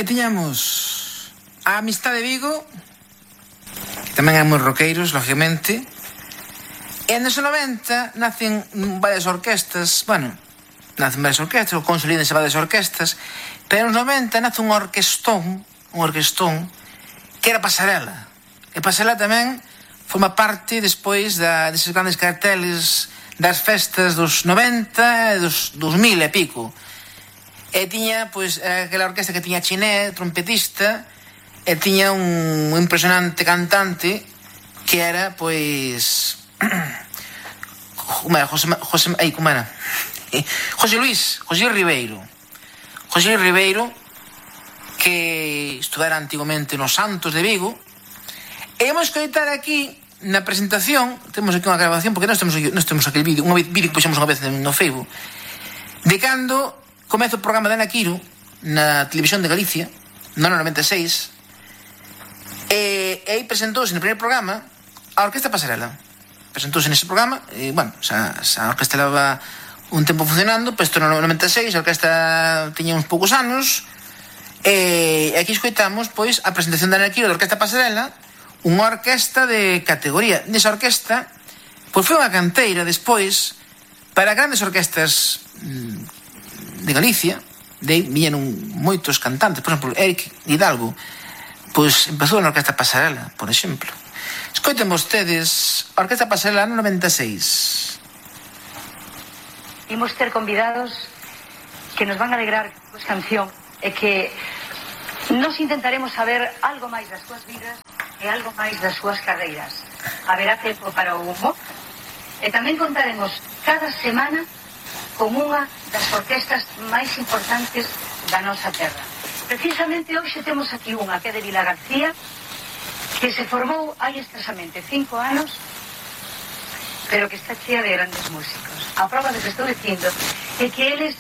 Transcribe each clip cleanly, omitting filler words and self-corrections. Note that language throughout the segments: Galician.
Aí tiñamos a Amistade de Vigo, que tamén eran moi roqueiros, lógicamente. E nos 90 nacen varias orquestas, o consolídense varias orquestas, pero nos 90 nace un orquestón, que era Pasarela. E Pasarela tamén forma parte despois deses grandes carteles das festas dos 90 e dos 2000 e pico. E tiña, pois, aquela orquesta que tiña Chiné, trompetista, e tiña un impresionante cantante que era, pois... José Ribeiro, que estudara antigamente nos Santos de Vigo. E vamos escoitar aquí na presentación, temos aquí unha grabación, porque nós temos aquele vídeo, un vídeo que puxemos unha vez no Facebook, de cando comeza o programa de Ana Quiro na televisión de Galicia, no ano 96, e aí presentouse no primeiro programa a Orquesta Pasarela. Presentouse nese programa, e, a orquesta leva un tempo funcionando, pero isto no 96, a orquesta tiña uns poucos anos, e aquí escoitamos, pois, a presentación de Ana Quiro da Orquesta Pasarela, unha orquesta de categoría. Nesa orquesta, pois foi unha canteira despois para grandes orquestas de Galicia. De aí viñeron moitos cantantes, por exemplo, Eric Hidalgo, pois empezou na Orquesta Pasarela, por exemplo. Escoiten vostedes a Orquesta Pasarela no 96. Imos ter convidados que nos van a alegrar con esta canción e que nos intentaremos saber algo máis das súas vidas e algo máis das súas carreiras. Haberá tempo para o humor e tamén contaremos cada semana con unha das orquestas máis importantes da nosa terra. Precisamente hoxe temos aquí unha que é de Vila García, que se formou hai escasamente 5 anos, pero que está chea de grandes músicos. A prova do que estou dicindo é que eles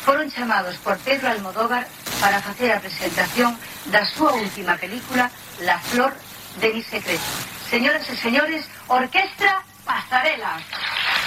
foron chamados por Pedro Almodóvar para facer a presentación da súa última película, La flor de mi secreto. Señoras e señores, Orquestra Pasarela.